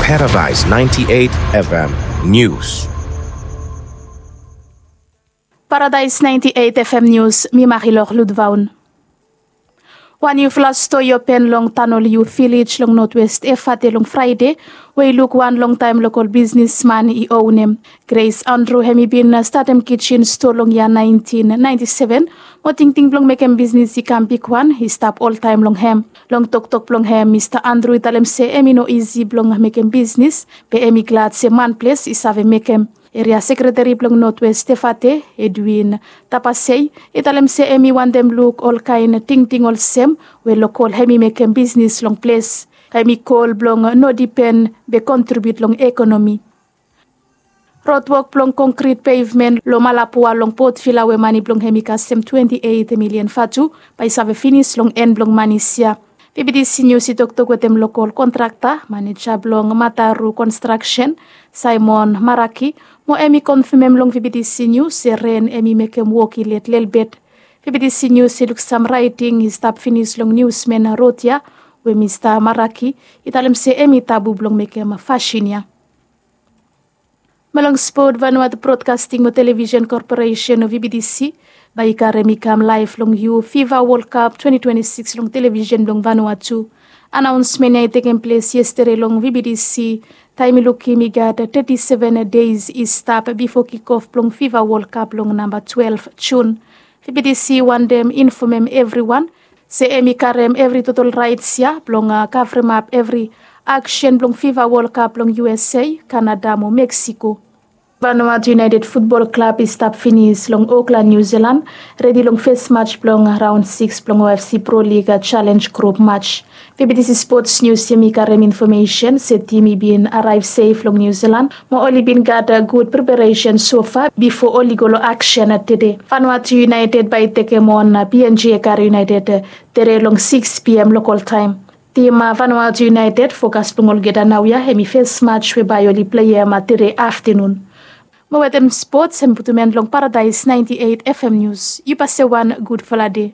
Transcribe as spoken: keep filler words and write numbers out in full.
Paradise ninety-eight F M News. Paradise ninety-eight F M News, mi Marilor Ludvaun. Wan niufala stoa i open long Tanoliu Vilej long Notwest Efate long Fraede, we i luk wan longtaem lokol bisnisman i onem. Grace Andrew hem i bin statem kijin stoa long yia naentin naenti seven, mo tingting blong mekem bisnis i kam bigwan i stap oltaem long hem. Long toktok blong hem, Mista Andrew i talem se hem i no isi blong mekem bisnis, be hem i glad se manples i save mekem. Eria sekreteri blong Notwest Efate, Edwin Tapasei, i talem se hem i wantem luk olkaen tingting olsem we lokol hem i mekem bisnis long ples. Hem i kol blong no dipen be kontribiut long ekonomi. Rodwok blong konkrit pevmen long Malapua long Port Vila we mane blong hem i kasem twenti eit milian vatu bae i save finis long en blong manis ya. V B T C News i toktok wetem lokol kontrakta, maneja blong Mataru Construction, Simon Maraki, mo hem i konfamem long V B T C News se ren hem i mekem wok i let lelebet. V B T C News i luk sam raeting i stap finis long niusmen rod ya, we Mista Maraki i talem se hem i tabu blong mekem fasin ya. Mo long spot, Vanuatu Broadcasting mo Television Corporation, V B T C, bae i karem i kam laev long yu FIFA World Cup twenty twenty-six long television blong Vanuatu. Anaonsmen ya i tekem ples yestede long V B T C, taem i lukim i gat teti seven deis i stap bifo kikof blong FIFA World Cup long namba twelve Jun. V B T C wantem infomem evriwan se hem i karem evri totol raets ya blong, a, kavremap evri aksen blong FIFA World Cup long U S A, Kanada mo Meksiko. Vanuatu United Futbol Klab i stap finis long Okland, Niu Silan, redi long fes maj blong raon sikis blong O F C Pro League, a, Challenge Grup Maj. V B T C Sports News hem i karem infomesen se tim i bin araev sef long Niu Silan, mo oli bin gat, a, gud preparesen sofa bifo oli go long aksen, a, tede. Vanuatu United bae i tekem on, a, P N G Ekare United, a, tede long sikis P M lokol taem. Tim, a, Vanuatu United, fokas blong olgeta naoia hem i fes maj we bae oli pleim, a, tede aftenun. Mo wetem spots hem i putum en long Paradise ninety-eight F M News. Yu pase wan gudfala dei.